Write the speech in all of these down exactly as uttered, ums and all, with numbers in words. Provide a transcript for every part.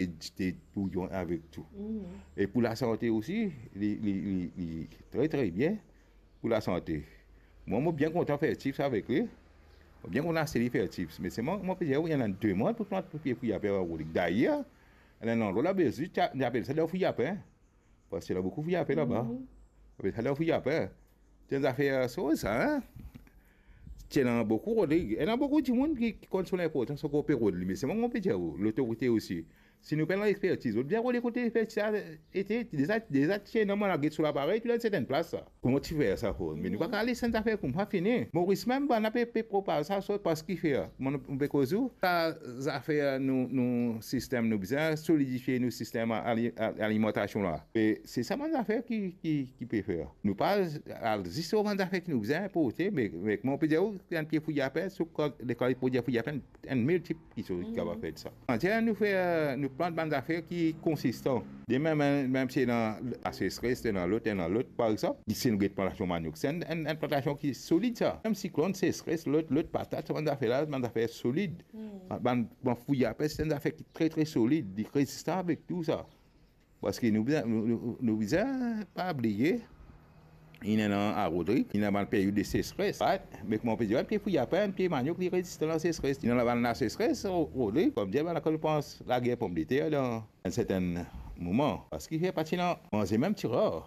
e dite bouyon avek tou. E pou lasante osi, li, li, li, li tre, tre bien pou lasante. Mwa, mo bien kontan fer chips avek li. Mo bien kontan aste li fer chips. Me selman, mo pe dir, wi, ena demann pou plant pie fri-a-pin, Rodrig. Dayer, ena enn landrwa la, Belzik, ti a-, ti apel sa dan fri-a-pin. Parski ena boukou fri-a-pin laba. Apel sa dan fri-a-pin. Ti enn zafer soz sa, en? Ti ena boukou, Rodrig. Ena boukou dimoun ki, ki konn so linportans, ankor pe rod li. Me selman, mo pe dir ou, lotorite osi. Si nou pena lexpertiz, zot bien rode kote lexpertiz sa ete, deza, deza ti ena, mo al get so laparey, tou dan sertin plas sa. Kouma ti fer sa, Rod? Me nou pa kapav les enn zafer koumsa fini. Moris mem, bann la pe, pe propaz sa, so, parski fer. Kouma nou, nou pe koz ou, sa zafer nou, nou sistem, nou bizin solidifie nou sistem ali-, a-, alimantasion la. E se sa bann zafer ki, ki, ki pe fer. Nou pa al zis lor bann zafer ki nou bizin inporte, me, me kouma mo pe dir ou, enn pie fri-a-pin, so kan, lekan li prodwir fri-a-pin, enn miltip kisoz ki kapav fer sa. Antier nou fer, nou plant bann zafer ki konsistan. De mem, mem, mem si ena laseseres, ena lot, ena lot, par exanp, si nou get plantasion manok, se enn, enn, enn plantasion ki solid sa. Mem siklonn, seseres, lot, lot, patat, sa bann zafer la, bann zafer solid. Bann, bann, bann fri-a-pin, se enn zafer ki tre, tre solid, li rezistan avek tou sa. Parski nou bizin, nou, nou, nou bizin pa bliye, inn ena a Rodrig, inn ena bann peryod de seseres, right? Me kouma pe dir, enn pie fri-a-pin, enn pie manok, li rezistan laseseres. Inn ena bann laseseres, Ro-, Rodrig, kouma dir, bann la kan nou pans lager pomdeter dan enn sertin moman. Parski fer pa ti ena manze mem ti rar.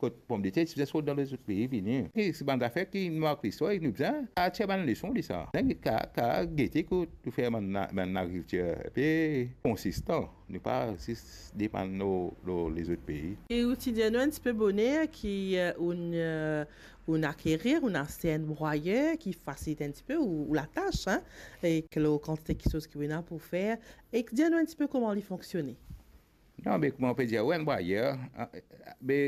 Kot pomdeter ti bizin sort dan lezot pei vini. E se bann zafer ki mark listwar e nou bizin atir bann leson de sa. Bizin ka, ka gete kot nou fer bann, bann agrikiltir pe konsistan. Nou pa zis depann lor, lor lezot pei. E ou ti dir nou enn tipe boner ki, eh, ou'nn, eh, ou'nn akerir, ou'nn aste enn brayer ki fasilit enn tipe ou, ou latas, en, ek lor kantite kisoz ki ou ena pou fer. E dir nou enn tipe kouma li fonksione. Non, me kouma pe dir, wi, enn brayer, a, a, me,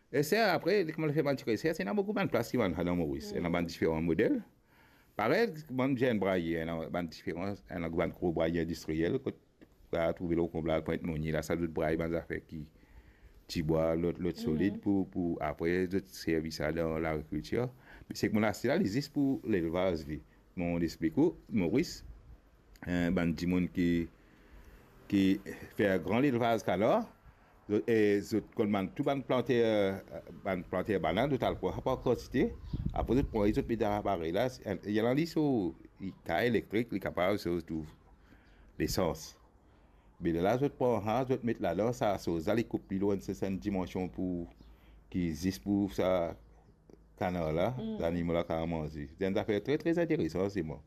e sa apre, li koumans fer bann ti resers, ena boukou bann plas ki bann sa dan Moris, ena bann diferan model. Parey, kouma dir enn brayer, ena bann diferan, ena bann gro brayer indistriyel, kot ou trouve lor konbla, Pwint Monie, la, sa zot bray bann zafer ki tibwa, lot, lot solid pou, pou apre zot servi sa dan lagrikiltir. Me seki mo'nn aste la, li zis pou lelvaz li. Mo explik ou, Moris, eh, bann dimoun ki, ki fer gran lelvaz kanar, zot, e zot konn bann, tou bann planter, bann planter banann, zot al pran par kantite, apre zot pran, zot met dan aparey la, ena li so, li ka elektrik, li kapav so tou lesans. Me lerla zot pran sa, zot met ladan, sa soz la, li koup li lor enn sertin dimansion pou ki zis pou sa kanar la, zanimo la kapav manze. Se enn zafer tre, tre interesan, se mwa.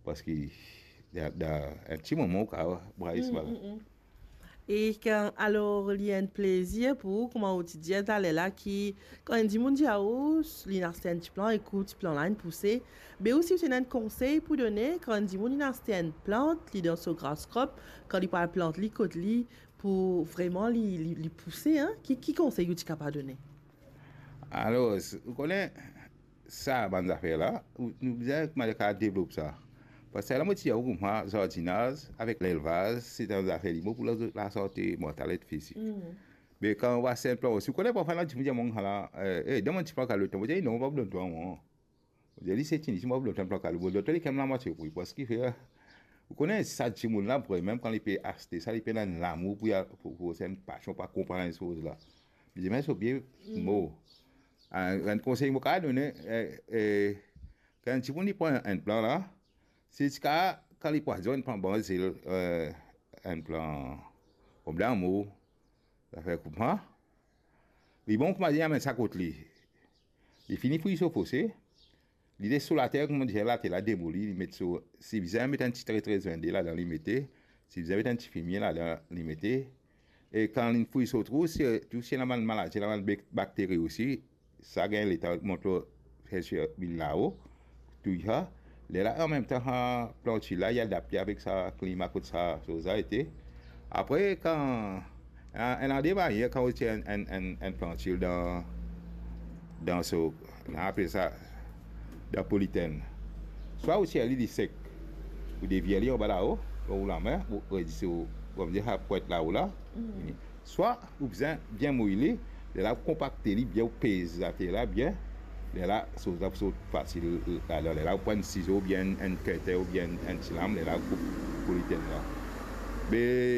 Parski dan, dan enn ti moman, ou kapav bray swa la. E kan, alor, li enn plezir pou ou, kouma ou ti dir taler la, ki, kan enn dimoun dir a ou, li inn aste enn ti plan, ek ou ti plan la inn pouse, be ou si ou ti ena enn konsey pou done, kan enn dimoun inn aste enn plant, li dan so grass crop, kan li pou al plant li kot li, pou vreman li, li, li pouse, en? Ki, ki konsey ou ti kapav done? Alor, ou kone, sa bann zafer la, ou, nou bizin kouma kapav devlop sa. Parski la mo ti dir ou kouma zardinaz avek lelvaz, se enn zafer li bon pou la, lasante mantal ek fizik. Me kan ou aste enn plan osi, ou kone parfwa ena dimoun dir mwa la, eh, eh, donn mwa enn ti plan kalo, mo dir non, pa pou donn twa mwa. Mo dir li se tini, si mo pa pou donn twa enn plan kalo, mo donn twa li kan lamwatie pri, parski fer, ou kone sa dimoun la, vremem kan li pe aste sa, li pena enn lamour pou, pou, pou, se enn pasion pou akonpagn soz la. Li dir, me so bie mo. Ah, enn konsey mo kapav done, eh, eh, kan enn dimoun li pran enn plan la, si li ti kapav, kan li pran, dizon, enn plan banzel, eh, enn plan pom damour, zafer kouma, li bon kouma dir, amenn sa kot li. Li fini fouy so fose, li les so later, kouma dir, later la demoli, li met so, si bizin met enn ti tre, tre zwenn de ladan, li mete, si bizin met enn ti fimie ladan, li mete. E kan li fouy so trou, si, tou si ena bann maladi, ena bann bak-, bakteri osi, sa gagn letan mont lor, fer sir bil lao, touy sa. Lerla, anmemtan, sa planti la, li adapte avek sa klima kot sa, so sa ete. Apre, kan, en, enn lade manier, kan ou tir enn, enn, enn, enn planti dan, dan so, nou apel sa, dan politen. Swa ou tir li, li sek, ou devir li anba lao, lor ou lame, ou redi so, kouma dir, sa pwint lao la. Swa ou bizin bien mouy li, lerla ou konpakte li bien, ou pez later la bien, lerla so la pou sort fasil ladan, lerla ou pran enn sizo oubien enn, enn kinte oubien enn, enn ti lam, lerla ou koup politen la. Me